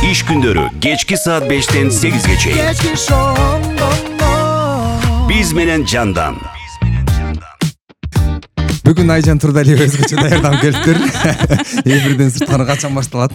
Иш күндөрү кечки саат 5-тен 8-ге чейин. Биз менен Жандан. Бүгүн Айжан Турдалиева өзгөчө даярданып келиптир. Эфирден сырткары качан башталат,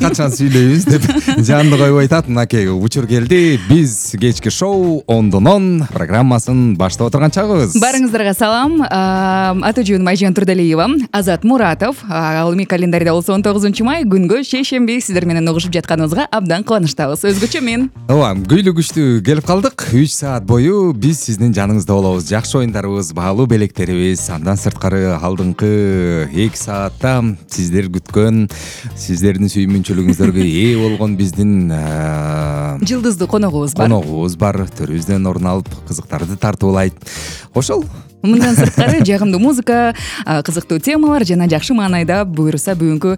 качан сүйлөйбүз деп жанды коюп айтат. Мынакей учур келди. Биз кечки шоу 10-10 программасын баштап отурган чагыбыз. Барыңыздарга салам. Аты жөнүм Айжан Турдалиева, Азат Муратов. Ал эми календарда болсо 19 май күнгө шейшемби. Сиздер менен угушуп жатканыбызга абдан кубанычтабыз. Өзгөчө мен. Ооба, күйлүү күчтүү келип калдык. 3 саат бою биз сиздин жаныңызда болобуз. Жакшы оюндарыбыз, баалуу белектерибиз. Андан сырткары алдыңкы 2 саатта сиздер күткөн, сиздердин сүйүмүнчүлүгүңүздөргө ээ болгон биздин жылдыздуу коногубуз бар. Төрүбүздөн орун алып, кызыктарды тартуулайт. Ошол. Мындан сырткары жагымдуу музыка, кызыктуу темалар жана жакшы маанайда буюрса бүгүнкү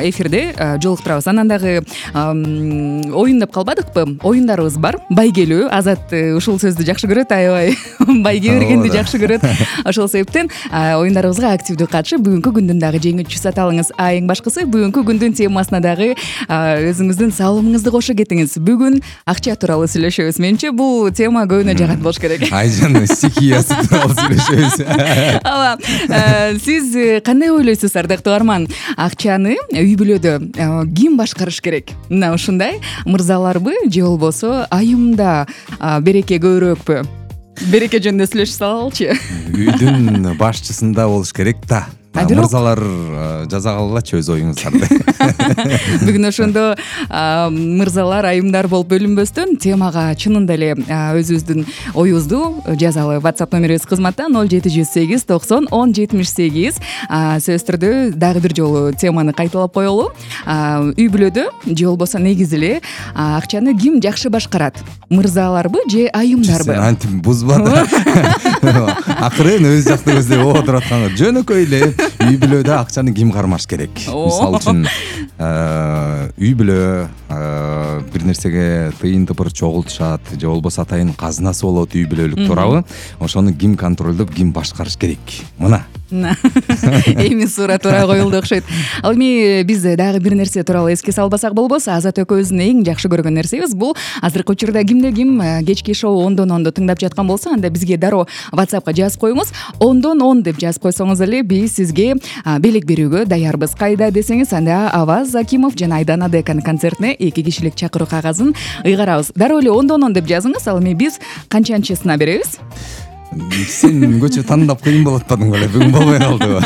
эфирде жолуктурабыз. Анан дагы оюн деп калбадыкпы? Оюндарыбыз бар. Байгелүү. Азат ушул сөздү жакшы көрөт, аябай байге бергенди жакшы көрөт. Ошол себептен оюндарыбызга активдүү катышып, бүгүнкү күндүн дагы жеңүүчүсү сата алыңыз. Эң башкысы бүгүнкү күндүн темасына дагы өзүңүздүн салымыңызды кошо кетиңиз. Бүгүн акча тууралуу сүйлөшөбүз. Менимче бул тема көбүнө жагат болуш керек. Айжан стихиясы тууралуу сүйлөшөбүз. Ооба. Сиз кандай ойлойсуз, ардактуу угарман? Акчаны үй бүлөдө ким башкарыш керек? Мына ушундай мырзаларбы же болбосо айымда береке көбүрөөкпү? Береке жөнүндө сүйлөшүп салалычы. Үйдүн башчысында болуш керек да. Мырзалар жаза калгылачы өз оюңуздарды. Бүгүн ошондо мырзалар, айымдар болуп бөлүнбөстөн темага чынында эле өзүбүздүн оюбузду жазалы. WhatsApp номерибиз кызматта 0708 90 10 78. Сөзсүз түрдө дагы бир жолу теманы кайталап коелу. Үй бүлөдө же болбосо негизи эле акчаны ким жакшы башкарат? Мырзаларбы же айымдарбы? Сен антип бузба да. Акырын өз жакты көздөп отуруп атканга жөнөкөй эле үй бүлөдө акчаны ким кармаш керек? Мисалы үчүн үй бүлө бир нерсеге тыйын тыпыр чогултушат же болбосо атайын казынасы болот үй бүлөлүк туурабы? Ошону ким контролдоп, ким башкарыш керек? Мына эми суроо туура коюлду окшойт. Ал эми биз дагы бир нерсе тууралуу эске салбасак болбос. Азат экөөбүздүн эң жакшы көргөн нерсебиз бул азыркы учурда кимде ким кечки шоу 10-10 тыңдап жаткан болсо, анда бизге дароо WhatsAppка жазып коюңуз. 10-10 деп жазып койсоңуз эле биз сизге белек берүүгө даярбыз. Кайда десеңиз, анда Аваз Закимов жана Айдана Деканын концертине 2 кишилик чакыруу кагазын ыйгарабыз. Дароо эле 10-10 деп жазыңыз. Ал эми биз канчанчысына беребиз? Сен көчө тандап кыйын болуп атпадың беле? Бүгүн болбой калдыбы?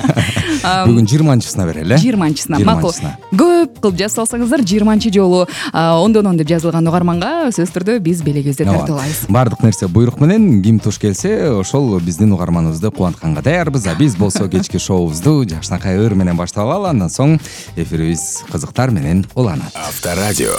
Бүгүн 20-чысына берели. 20-чысына. Макул. Көп кылып жазып салсаңыздар 20 жолу 10-10 деп жазылган угарманга сөзсүз түрдө биз белегибизди тартуулайбыз. Бардык нерсе буйрук менен, ким туш келсе, ошол биздин угарманыбызды кубантканга даярбыз. Биз болсо кечки шоубузду жакшынакай ыр менен баштап алалы. Андан соң эфирибиз кызыктар менен уланат. Авторадио.